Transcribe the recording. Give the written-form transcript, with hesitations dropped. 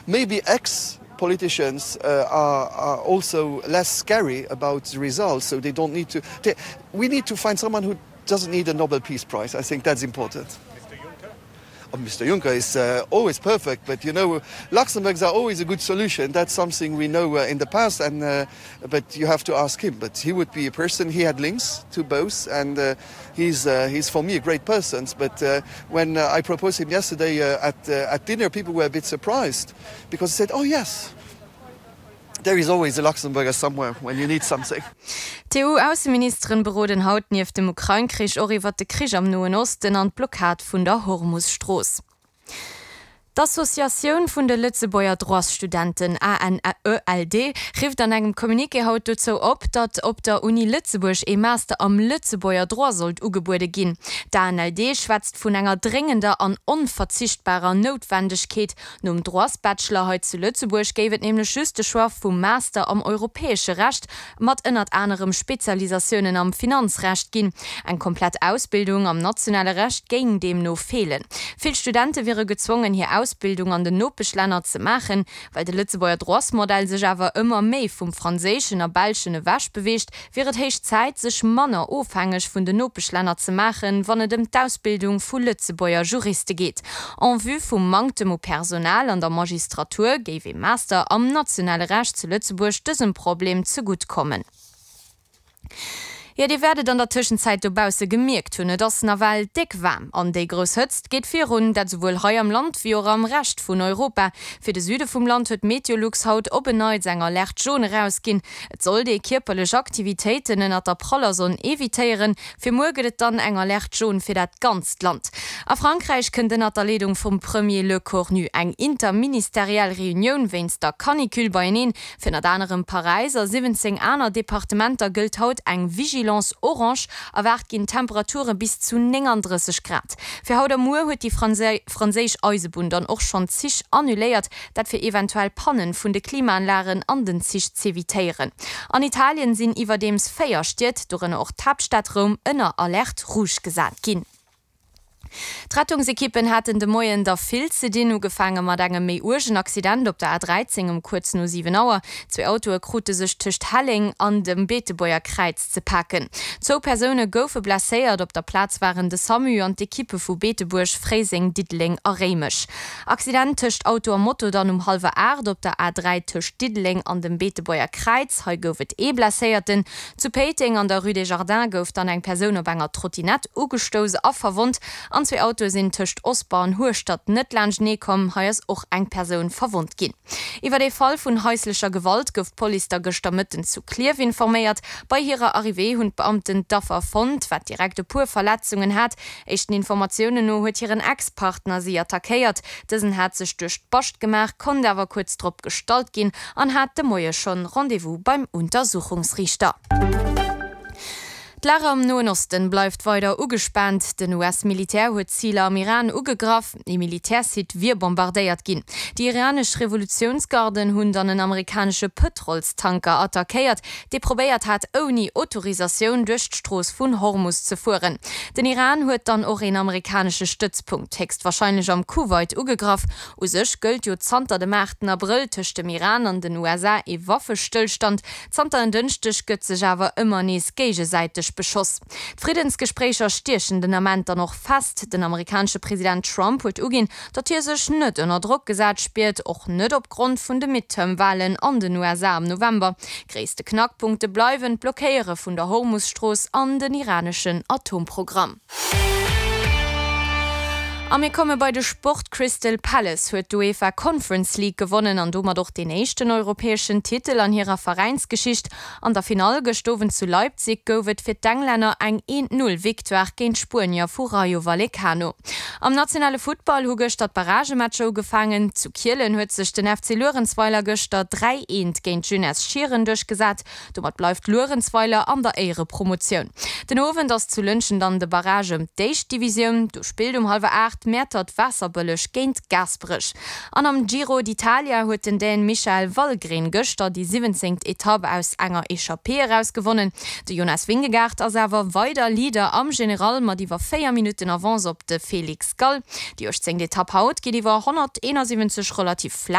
Maybe ex politicians uh, are, are also less scary about the results, so they don't need to. They, we need to find someone who doesn't need a Nobel Peace Prize. I think that's important. Oh, Mr. Juncker is uh, always perfect, but you know Luxembourgs are always a good solution. That's something we know uh, in the past and uh, but you have to ask him. But he would be a person he had links to both and uh, he's, uh, he's for me a great person. But uh, when uh, I proposed him yesterday uh, at, uh, at dinner, people were a bit surprised because they said, oh yes, there is always a Luxemburger somewhere when you need something. D'EU-Ausseministeren beroden haut nieft dem Ukrain-Krich och iwwert de Krich am Noen Osten an d'Blockad vun der Hormus-Strooss. D'Associatioun vun de Lëtzebuerger Droitsstudenten, ANELD, rifft an engem Communiqué haut dozou op, datt op der Uni Lëtzebuerg ee Master am Lëtzebuerger Droit sollt ugebuede ginn. D'ANELD schwätzt vun enger dréngender an onverzichtbarer Noutwendegkeet, Nom Droitsbachelor hei zu Lëtzebuerg géif et nämlech just de Choix vum Master am europäesche Recht mat ënnert anerem Spezialisatiounen am Finanzrecht ginn. Eng komplett Ausbildung am nationale Recht géing deemno feelen. Vill Studente wiere gezwongen, hir Ausbildung an den Nopeschlänner ze maachen. Well de Lëtzebuerger Droitsmodell sech awer ëmmer méi vum franséischen a belschen ewech beweegt, wier et héich Zäit, sech manner ofhängeg vun den Nopeschlänner ze maachen, wann et ëm d'Ausbildung vu Lëtzebuerger Juriste geet. En vue vum Manktem u Personal an der Magistratur géif ee Master am nationale Recht zu Lëtzebuerg dësem Problem zegutt kommen. Jo, dir wäert et an der Tëschenzäit dobausse gemierkt hunn, et ass nawell déck waarm an déi grouss Hëtzt geet virun, dat esouwuel hei am Land wéi och am Rescht vun Europa. Fir de Süde vum Land huet Meteolux haut op en Neits eng Alerte jaune erausginn. Et sollt ee kierperlech Aktivitéiten ënnert der praller Sonn evitéieren. Fir muer gëtt et dann eng Alerte jaune fir dat ganzt Land. A Frankräich kënnt ënnert der Leedung vum Premier Lecornu eng interministeriell Reunioun wéinst der Canicule beieneen. Fir ënnert anerem Paräis a 17 aner Departementer gëllt haut eng Vigilance orange. Erwaart ginn Temperature bis zu 39 Grad. Fir haut a muer huet déi franséisch Eisebunn dann och schonn Zich annuléiert. Dat fir eventuell Pannen vun de Klimaanlagen an den Zich z'evitéieren. An Italien sinn iwwerdeems 4 Stied, dorënner och d'Haaptstad Roum, ënner Alerte rouge gesat ginn. D'Rettungsekippen haten de Moien der vill ze dinn. Ugefaange mat engem méi uergen Accident op der A 13 um kuerz no 7 Auer. Zwee Autoe krute sech tëscht Helleng an dem Beetebuerger Kräiz ze paken. Zwou Persoune goufe blesséiert. Op der Plaz waren de Samu an d'Ekippe vu Beetebuerg, Fréiseng, Diddeleng a Réimech. Accident tëscht Auto a Moto dann um hallwer 8 op der A3 tëscht Diddeleng an dem Beetebuerger Kräiz. Hei gouf et ee Blesséierten. Zu Péiteng an der Rue des Jardins gouf dann eng Persoun op enger Trottinett ugestouss a verwonnt. An zwee Autoe sinn tëscht Osper an Hueschtert net laanschtenee komm. Hei ass och eng Persoun verwonnt ginn. Iwwer ee Fall vun haislecher Gewalt gouf d'Police da gëschter Mëtten zu Klierf informéiert. Bei hirer Arrivée hunn d'Beamten d'Affer fonnt, wat direkt e puer Verletzungen hat. Éischten Informatiounen no huet hiren Ex-Partner si attackéiert. Dësen hat sech duerch d'Bascht gemaach, konnt awer kuerz drop gestallt ginn an hat de Moie schonn Rendez-vous beim Untersuchungsriichter. D'Lag am Noen Osten bleift weider ugespaant. Den US-Militär huet Ziler am Iran ugegraff, ee Militärsite wier bombardéiert ginn. Déi iranesch Revolutiounsgarden hunn dann en amerikanesche Pëtrolstanker attackéiert, dee probéiert hat ouni Autorisatioun duerch d'Strooss vun Hormus ze fueren. Den Iran huet dann och een amerikanesche Stëtzpunkt, héchstwarscheinlech am Kuwait, ugegraff. U sech gëllt jo zanter dem 8 Abrëll tëscht dem Iran an den USA ee Waffestëllstand. Zanter en Dënschdeg gëtt sech awer ëmmer nees géigesäiteg beschoss. D'Friddensgespréicher stiechen den Ament dann och fest. Den amerikanesche President Trump huet uginn, datt hie sech net ënner Drock gesat spiert, och net opgrond vun de Midterm-Walen an den USA am November. Gréisste Knackpunkte bleiwen d'Blockéiere vun der Hormus-Strooss an den iraneschen Atomprogramm. A mir komme bei de Sport, Crystal Palace huet d'UEFA Conference League gewonnen an domat och deen éischten europäeschen Titel an hirer Veräinsgeschicht. An der Finall gëscht Owend zu Leipzig gouf et fir d'Englänner eng Eent-Null-Victoire géint d'Spuenier vu Rayo Vallecano. Am nationale Futtball hu gëschter d'Barragematcher ugefaangen. Zu Kielen huet sech den FC Luerenzweiler gëschter 3, 1 géint d'Jeunesse Schieren duerchgesat. Domat bleift Luerenzweiler an der Éierepromotioun. Den Owend ass zu Lëntgen dann de Barrage ëm d'éischt Divisioun. Do spillt um hallwer 8 Mäertert-Waasserbëlleg géint Gaasperech. An am Giro d'Italia huet den Dän Michael Valgren gëschter déi siwwenzéngt Etapp aus enger Echappée eraus gewonnen. De Jonas Vingegaard ass awer weider Leader am General mat iwwer 4 Minutten Avance op de Felix Gall. Déi uechtzéngt Etapp haut geet iwwer 171 relativ flaach.